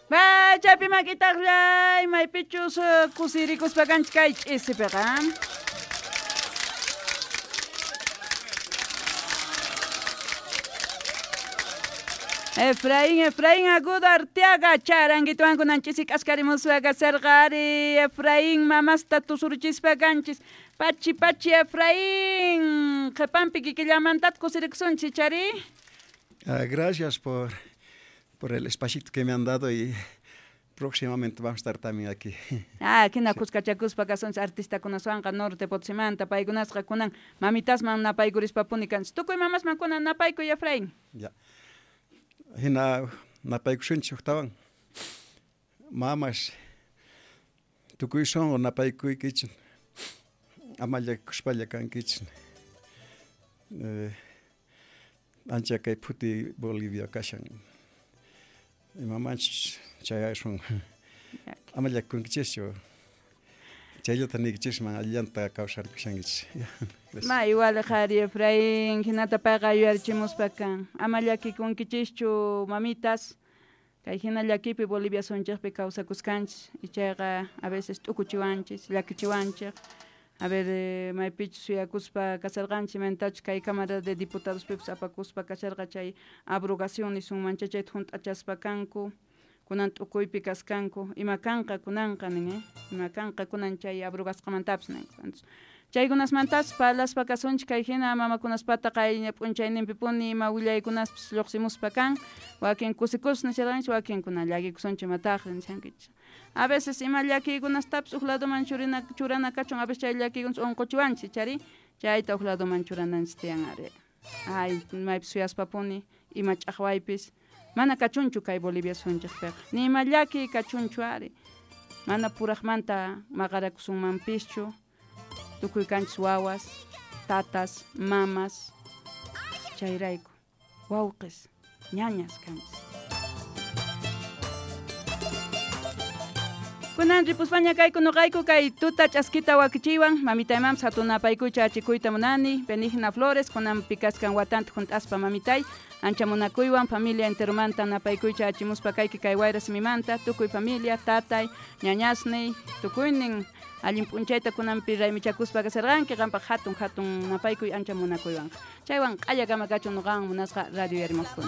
Ba, chaypi makitaqllay, maypichus kusirikuspa kanchik kay ch'isipiqa. Efraín, Efraín Agudo Arteaga, charanguituwan kunan ch'isi k'askarimuspa kasarqa ari, Efraín mamasta tusurichispa kanchis. Pachi, pachi Efraín, qhipanpi kikillamantata kusirikusunchik chari. Ah, gracias por el espacito que me han dado y próximamente vamos a estar también aquí. Ah, hina kuskachakuspa kasunchik artistakunaswanqa Norte Potosímanta, paykunasqa kunan mamitasman napaykurishpapuni kanchik. Tukuy mamasman kunan napaykuy, Efraín. Ya. Hina napaykusunchik huktawan. Mamas, tukuy sunqu napaykuykichik. Ama llakikuspalla kankichik. Ancha kay phuti Bolivia kashan. Imamanchus chayasun. Ama llakikunkichikchu. Chayllata niykichisman allillanta kawsarkushankichik. Ma igual qhari Efraín, hinata payqa yuyarichimuspa kan. Ama llakikunkichikchu mamitas. Kay hina llakipi Bolivia sunchikpi kawsakuskanchik. Ichayqa a veces t'ukuchiwanchik, llakichiwanchik. A ver, maypichus suyakuspa kasarqanchik, imaynatachus kay Cámara de Diputadospipis apakuspa kasharqa chay abrogación nisunman chayta hunt'achaspa kanku, kunan t'ukuypi kaskanku, ima kanqa kunanqa nin, ima kanqa kunan chay abrogasqamantapis nin. Entonces, chaykunasmantapas parlaspa kasunchik kay hina mamakunaspata qaylla p'unchayninpipuni ima willaykunaspis lluqsimuspa kan, wakin kusikus nisharqanchik, wakinkuna llakikusunchik imataqri nishankichik. A veces ima llakiykunastapis uj ladoman churana kachun, a veces chay llakiykunas unquchiwanchik, chari chayta uj ladoman churananchik tiyan ari. Ay, maypis suyaspapuni, ima ch'aqwaypis, mana kachunchu kay Bolivia sunchikpiqa, ni ima llakiy kachunchu ari. Mana puraqmanta maqarakusunmanpischu, tukuy kanchis wawas, tatas, mamas, chayrayku, wawqis, ñañas kanchis. Kunan ripuspaña kayku noqayku kay tuta ch'askita wakichiywan, mamitay mamas hatun napaykuycha achikuyta munani, Benigna Flores, kunan pikaskan watanta hunt'aspa mamitay, ancha munakuywan familia enteromanta napaykuycha achimuspa kayki kay wayra simimanta, tukuy familia, tatay, ñañasniy, tukuynin allin p'unchayta kunanpi raymichakuspa kasarqanki, qampaq hatun hatun napaykuy ancha munakuywanqa. Chaywan q'allakama kachun noqawan munasqa radio yarimuqkuna.